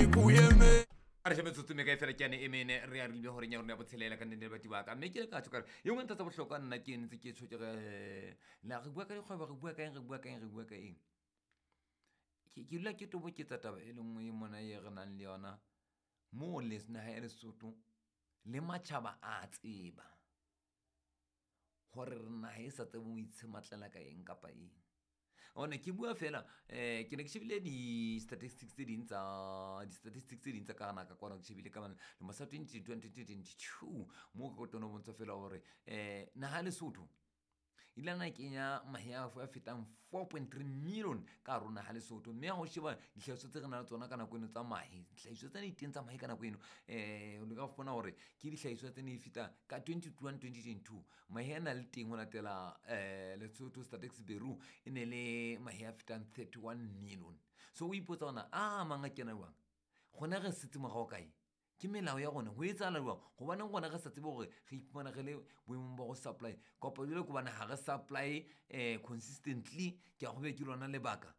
Dziękujemy. A re she metsotso me kae fela ke yane e mene re a rile goreng ya rona ya botshelela ka nnete le batho ba ka, mme ke le ka tsho kare e nngwe ntho tsa bohlokwa nna ke ntse ke tsho ke re la re bua ka dikgwebo, re bua ka eng, re bua ka eng, re bua ka eng. Ke dula ke toboketsa taba e le nngwe e mona e re nang le yona mo le naha ya Lesotho le matjhaba a tseba gore re naha e sa tsebeng ho itshematlela ka eng kapa eng. One ke bua fela ke ne ke shebile di-statistics tse ding tsa di-statistics tse ding tsa ka gana ka kwana, ke shebile ka lemo sa 2022 mo ke tono bontsha fela gore naha ya Lesotho e ile na kenya mahe a fetang 4.3 million ka hare ho naha Lesotho, mme ha o sheba dihlahiswa tse re nang le tsona ka nako eno tsa mahe, dihlahiswa tse ne teng tsa mahe ka nako eno o ka fumana hore ke dihlahiswa tse ne di feta ka 2021 2022 mahe a na le teng ho latela Lesotho Statistics Bureau e ne le mahe a fetang 31 million. So o ipotsa hore a mang a kena jwang, gona re setse morao kae, ke melao ya rona ho etsahala jwang, hobaneng rona re sa tsebe hore re iphumana re le boemong ba go supply kapa jwale ke hobane ha re supply consistently. Ke a gobe ke lona lebaka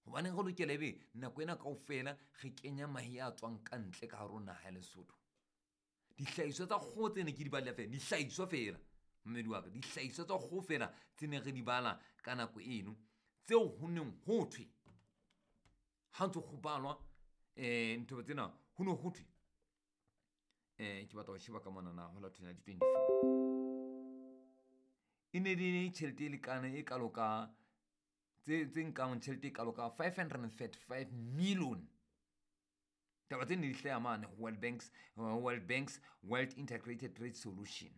hobaneng re lokela ebe nako ena kaofela re kenya mahe a tswang ka ntle ka hare ho naha ya Lesotho. Dihlahiswa tsa kgoho tse ne ke di balla fela, dihlahiswa fela mmedi wa ka, dihlahiswa tsa kgoho fela tse ne re di bala ka nako eno tseo ho neng ho thwe ha ntso go balwa ntho tsena ho ne ho thwe ke batla ho sheba ka monana ho la 2024 e ne le tjhelete e lekana e kalo ka tse nkang tjhelete e kalo ka 535 million. Taba tse ne di hlaha mane ho World Bank's World Integrated Trade Solution.